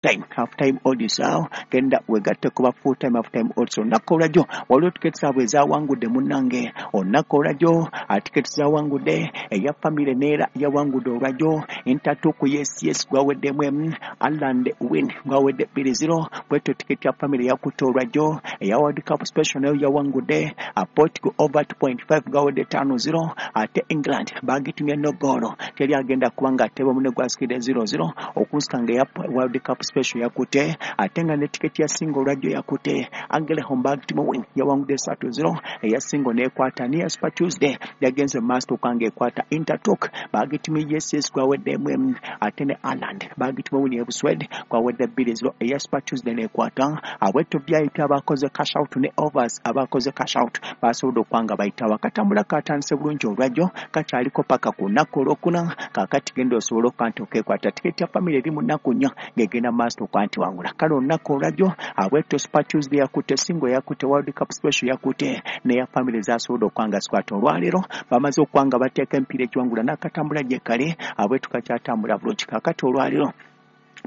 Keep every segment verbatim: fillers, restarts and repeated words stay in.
Time half time odds awo genda wegatte kuba full time half time odds. Olunaku olwajjo waliwo tiketi zaabwe ezawangudde munnange. Olunaku olwajjo tiketi zawangudde eya family neera yawangudde olwajjo Intertoto yes yes gwaweddemu emu, Ireland win gwawedde bbiri zero. Bwetyo tiketi ya family yakutte olwajjo. Eya World Cup special nayo yawangudde Portugal over two point five gwawedde ttaano zero, ate England bagitumye no goal, teri agenda kubanga ateba munne gwasikidde zero zero okunsika nga eya World Cup special yakutte. Ate nga ne tiketi ya single olwajjo yakutte Angele Homburg Timo win yawangudde ssatu zero, eya single n'ekwata. Neya Super Tuesday yagenze maaso okanga ekwata Intertoto bagitumye yes yes gwaweddemu emu, ate ne Ireland bagitumye win ebuswed gwawedde bbiri zero, eya Super Tuesday n'ekwata. Abwetyo V I P abakoze cash out ne overs abakoze cash out basobodde okwanga bayitawo. Akatambula katandise bulungi olwajjo, kakyaliko paka ku lunaku olwokuna. Kaakati genda osobole okuba nti okekwata tiketi ya family eri mu nnaku nnya ng'egenda maaso okuba nti wangula. Kale olunaku olwajjo abwetyo Super Tuesday yakutte, single yakutte, World Cup special yakutte, neya family zasobodde okuba nga zikwata. Olwaleero bamaze okuba nga bateeka emipiira egiwangula n'akatambula gye kale abwetu kakyatambula bulungi. Kaakati olwaleero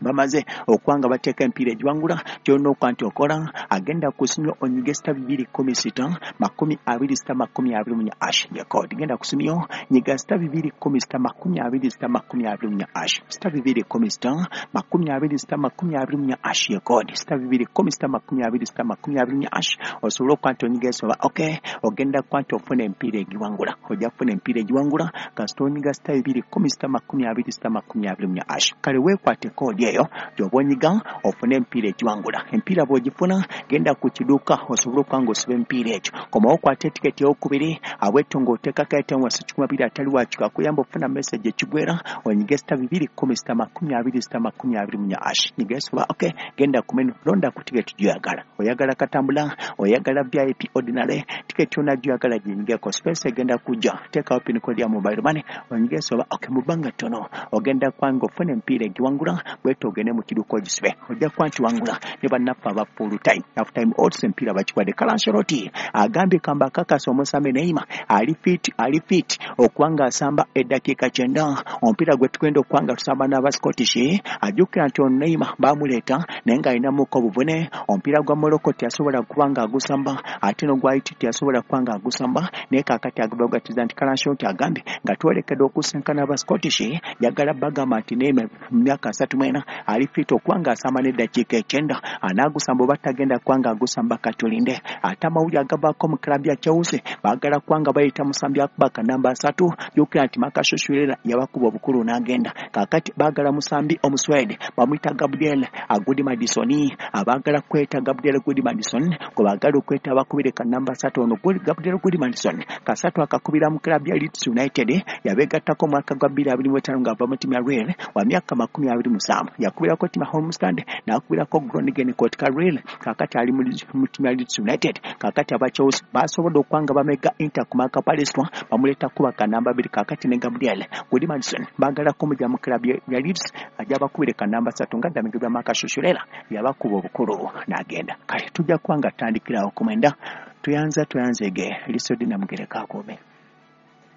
bamaze okuba nga bateeka emipiira egiwangula. Kyolina okuba nti okola, agenda ku Simyo onyige star bibiri kumi sita makumi abiri sita makumi abiri munya hash ye code. Genda ku Simyo nyiga star bibiri kumi sita makumi abiri sita makumi abiri munya hash, star bibiri kumi sita makumi abiri sita makumi abiri munya hash ye code, star bibiri kumi sita makumi abiri sita makumi abiri munya hash osobole okuba nti onyiga esoba. Ok, ogenda kuba nti ofuna emipiira egiwangula, ojja kufuna emipiira egiwangula kasita onyiga star bibiri kumi sita makumi abiri sita makumi abiri munya hash. Kale weekwate code eyo gy'oba onyiga ofune emipiira egiwangula. Emipiira bw'ogifuna, genda ku kiduuka osobole okuba nga osiba emipiira egyo. Komawo okwate etiketi eyokubiri abwetto ng'oteekako airtime wasi kikumi abiri atali wakika akuyamba okufuna message ekigwera. Onyige star bibiri kumi sita makumi abiri sita makumi abiri munya hash, nyiga esoba. Ok, genda ku menu, londa ku tiketi gy'oyagala. Oyagala katambula, oyagala V I P, ordinary tiketi, yonna gy'oyagala ginyigeko. Space egenda kujja, teekawo pin code ya mobile money, onyige esoba. Ok, mu bbanga ttono ogenda kuba nga ofuna emipiira egiwangula. Bwetyo ogende mu kiduuka ogisibe, ojja kuba nti wangula ne bannaffe aba full time half time odds emipiira bakiwadde. Carlo Ancelotti agambye kamba akakasa omusambi Neymar ali fit, ali fit okuba ng'asamba eddakiika kyenda omupiira gwe tugenda okuba nga tusamba n'aba Scottish. Ajjukira nti ono Neymar baamuleeta naye ng'alinamuko obuvune. Omupiira gwa Morocco teyasobola kuba ng'agusamba, ate n'ogwa Haiti teyasobola kuba ng'agusamba, naye kaakati agabagatiza nti Carlo Ancelotti agambye nga twolekedde okusinkana aba Scottish, njagala bagamba nti Neymar mu myaka asatu mu ena ali fit okuba ng'asamba n'eddakiika ekyenda. Anaagusamba oba tagenda kuba ng'agusamba, katulinde. Ate amawulire agavaako mu club ya Chelsea, baagala kuba nga bayita musambi akuba kanamba asatu. Jjukira nti Marc Cucurella yabakuba obukulu n'agenda. Kaakati baagala musambi Omuswede bamuyita Gabriel Gudmundsson. Abaagala kweta Gabriel Gudmundsson gwe baagala okweta abakubire kanamba asatu. Ono Gabriel Gudmundsson kasatu akakubira mu club ya Leeds United, yabeegattako omwaka gwa bbiri abiri mu etaano ng'ava mu ttiimu ya Real, wa myaka makumi abiri mu musanvu. Yakubirako ttiimu ya Halmstad, n'akubirako Groningen Kotka Real, kaakati ali mu ttiimu ya Leeds United. Kaakati aba Chelsea basobodde okuba nga bamega Inter ku Marc Palestra, bamuleeta kuba kanamba bbiri. Kaakati ne Gabriel Gudmundsson baagala kumugya mu club ya Leeds ajja bakubire kanamba ssatu nga ddamigibwa Marc Cucurella yabakuba obukulu n'agenda. Kale tujja kuba nga tutandikirawo ku mwenda. Tuyanza tuyanzege lisodi namugereka akuume.